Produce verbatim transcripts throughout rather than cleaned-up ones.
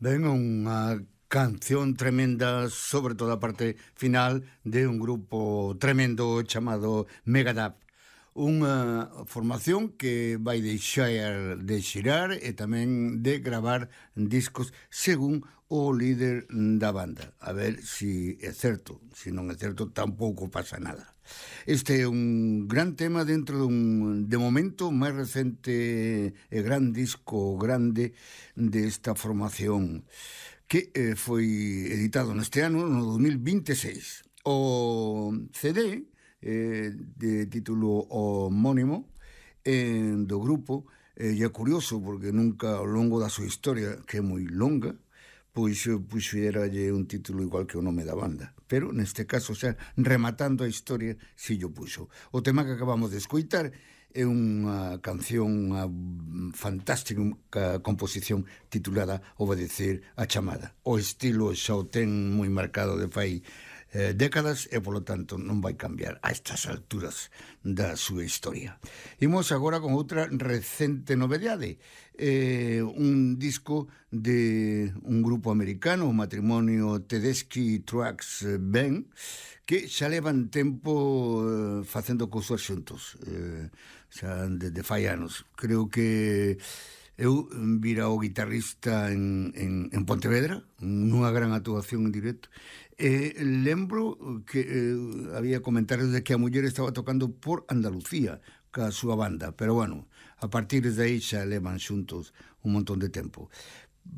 Ben, unha canción tremenda, sobre todo a parte final de un grupo tremendo chamado Megadeth. Unha formación que vai deixar de xirar e tamén de gravar discos según o líder da banda. A ver se é certo. Se non é certo, tampouco pasa nada. Este é un gran tema dentro dun, de momento, máis recente e gran disco grande desta formación que eh, foi editado neste ano, no dos mil vinte e seis. O C D eh, de título homónimo eh, do grupo eh, e é curioso porque nunca ao longo da súa historia, que é moi longa, pois puxeralle un título igual que o nome da banda, pero neste caso xa rematando a historia si yo puxo. O tema que acabamos de escoitar é unha canción, unha fantástica composición titulada Obedecer a chamada. O estilo xa o ten moi marcado de fai eh, décadas e, polo tanto, non vai cambiar a estas alturas da súa historia. Imos agora con outra recente novedade, eh, un disco de un grupo americano, o matrimonio Tedeschi Trucks Band, que xa levan tempo eh, facendo cousas xuntos, eh, xa desde fai anos. Creo que eu vira o guitarrista en, en, en Pontevedra, nunha gran actuación en directo, e lembro que eh, había comentarios de que a muller estaba tocando por Andalucía ca súa banda, pero bueno, a partir de aí xa levan xuntos un montón de tempo.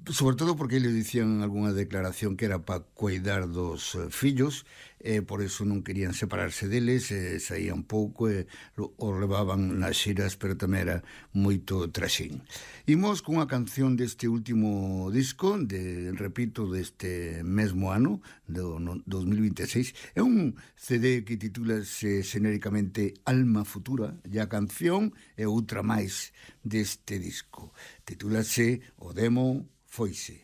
Sobre todo porque eles dicían en algunha declaración que era para cuidar dos eh, fillos, e por eso non querían separarse deles, e saían pouco e o levaban nas xiras, pero tamén era moito traxín. Imos cunha canción deste último disco, de, repito, deste mesmo ano, do no, dos mil vinte e seis. É un C D que titúlase xenéricamente Alma Futura, e a canción é outra máis deste disco. Titúlase O Demo Foise.